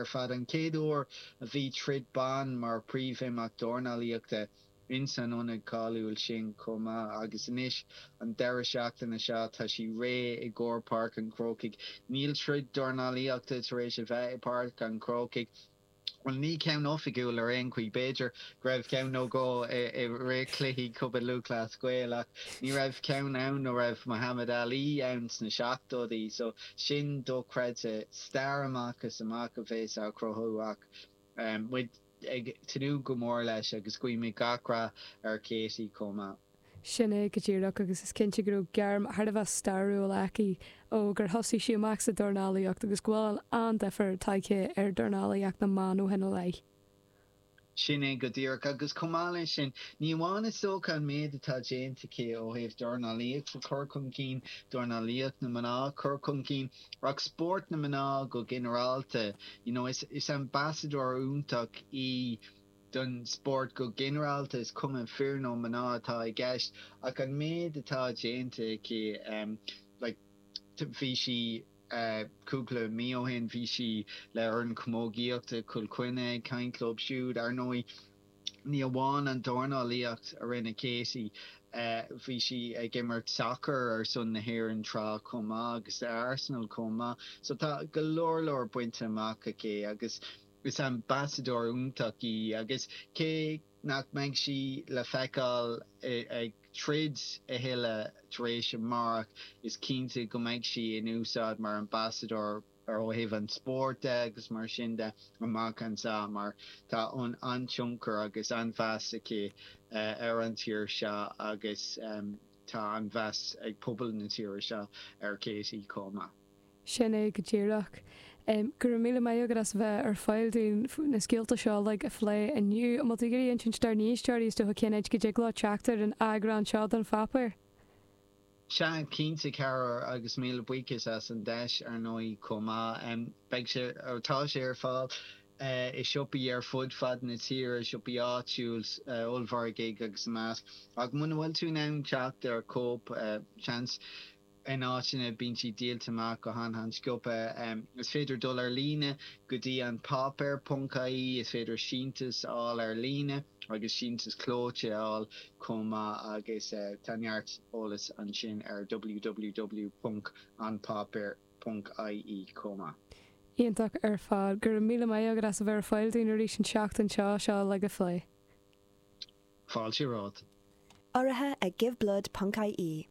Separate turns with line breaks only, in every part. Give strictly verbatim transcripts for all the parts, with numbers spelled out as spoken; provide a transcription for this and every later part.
ar fad an chéad uair a bhí troid ban mar príomhimeacht dornálaíochta insan ionad cáiliúil sin chomh maith agus anois an deireadh seachtaine seo tá sí réidh i gcomhair Páirc an Chrócaigh. Níl troid dornálaíochta tar éis a bheith i bPáirc an Chrócaigh Well ní ceann oifigiúil ar aon chaoi b'fhéidir go raibh ceann nó dhó i rith cluichí Chumann Lúthchleas Gael ach ní raibh ceann ann ó raibh Muhammad Ali ann sna seachtóidí so sin dochreidte stair amach is amach a bheas á cruthú ach muid ag tnúth go mór leis agus guímid gach rath ar Katie chomh maith.
Sin é go díreach agus is cinnte go raibh gairm thar a bheith stairiúil aici ó gur thosaigh sí amach sa dornálaíocht agus go bhfuil an-difear tagtha ar dornálaíocht na mban ó shin i leith.
Sin é go díreach agus chomh maith leis sin, ní amháin is dócha an méid atá déanta aici ó thaobh dornálaíocht a chur chun cinn, dornálaíocht na mná a chur chun cinn, ach spórt na mná go ginearálta. You know, is is ambasadóir iontach í don spórt go ginearálta, is cuma fir nó mná atá i gceist, ach an méid atá déanta aici, like, bhí sí cúpla mí ó shin, bhí sí le foireann camógaíochta Chill Chainnigh ag caint leo siúd. Ar ndóigh, ní amháin an dornálaíocht a rinne Katie, bhí sí ag imirt sacair ar son na hÉireann tráth chomh maith agus Arsenal chomh maith. So tá go leor leor bainte amach aici agus Is ambasadóir iontach í agus cé nach mbeidh sí le feiceáil ag troid a thuilleadh tar éis amárach, is cinnte go mbeidh sí in úsáid mar ambasadóir ó thaobh an spóirt de agus mar sin de amach anseo mar tá an-tionchar agus an-mheas aici ar an tír seo agus tá an-mheas ag pobal na tíre seo ar Katie chomh maith.
Sin é go díreach. Go raibh míle maith agat as a bheith ar fáil dúinn na scéalta seo uilig a phlé inniu. An bhfuil tú ag iarraidh insint dár n-éisteoirí is dócha cén áit go dtig leo teacht ar an eagrán seo den pháipéar?
Sea, cinnte, a chara, agus míle buíochas as an deis, ar ndóigh, chomh maith. Beidh sé, tá sé ar fáil i siopaí ar fud fad na tíre, siopaí áitiúil, ollmhargaidh agus a measc. Ach muna bhfuil tú in ann teacht ar chóip, seans, In áiteanna bíonn siad díolta amach go han-han-sciobtha. Is féidir dul ar líne go dtí an páipéar ponc ie, is féidir síntiús a fháil ar líne agus síntiús clóite a fháil chomh maith agus tá neart eolas ansin ar www ponc anpáipéar ponc ie chomh maith.
Iontach ar fad. Go raibh míle maith agat as a bheith ar fáil dúinn arís an tseachtain seo seo uilig a phlé.
Fáilte romhat.
Urraithe ag Giveblood ponc ie.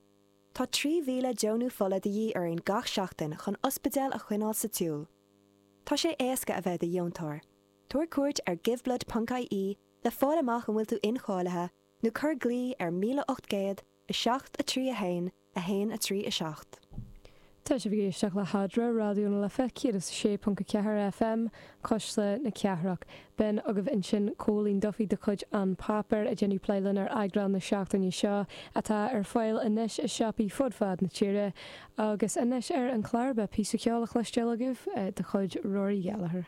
Tá trí mhíle deonú fola de dhíth orainn gach seachtain chun ospidéil a choinneáil sa tsiúl. Tá sé éasca a bheith i do dheontóir. Tabhair cuairt ar giveblood ponc ie le fáil amach an bhfuil tú incháilithe nó cuir glao ar míle ocht gcéad, a seacht, a trí, a haon, a haon, a trí, a seacht.
Tá sibh ag éisteacht le hAdhmhaidin, Raidió na Life céad is a sé ponc a ceathair FM, Cuisle na Cathrach. B'in agaibh ansin Cóilín Duffy de chuid An Páipéar ag déanamh plé linn ar eagrán na seachtaine seo, atá ar fáil anois i siopaí fud fad na tíre. Agus anois ar an chlár beidh píosa ceoil le cloisteáil agaibh de chuid Rory Gallagher.